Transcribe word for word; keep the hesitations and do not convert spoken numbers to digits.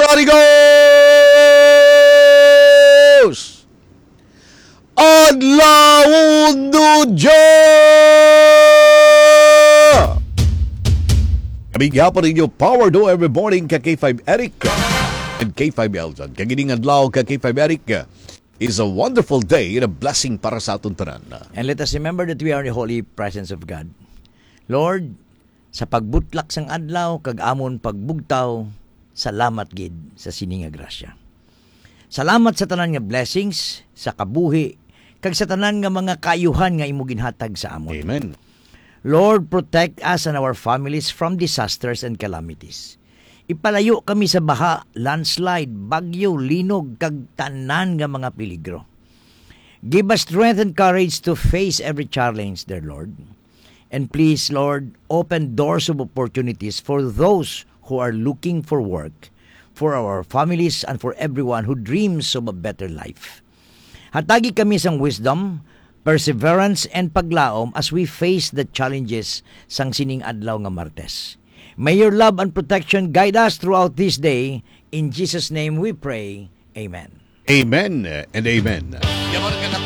Arigos! Adlaw Duja! Kami gihapon ninyo, Power Do Every Morning ka K five Eric and K five Elton. Kag ining adlaw ka K five Eric is a wonderful day and a blessing para sa aton tanan. And let us remember that we are in the holy presence of God. Lord, sa pagbutlak sang adlaw kag amon pagbugtaw, salamat gid sa sini nga grasya. Salamat sa tanan nga blessings, sa kabuhi, kag sa tanan nga mga kaayuhan nga imo ginhatag sa amon. Amen. Lord, protect us and our families from disasters and calamities. Ipalayo kami sa baha, landslide, bagyo, linog, kag tanan nga mga peligro. Give us strength and courage to face every challenge, dear Lord. And please, Lord, open doors of opportunities for those who are looking for work, for our families, and for everyone who dreams of a better life. Hatagi kami sang wisdom, perseverance, and paglaom as we face the challenges sang sining adlaw nga Martes. May your love and protection guide us throughout this day. In Jesus' name we pray. Amen. Amen and amen.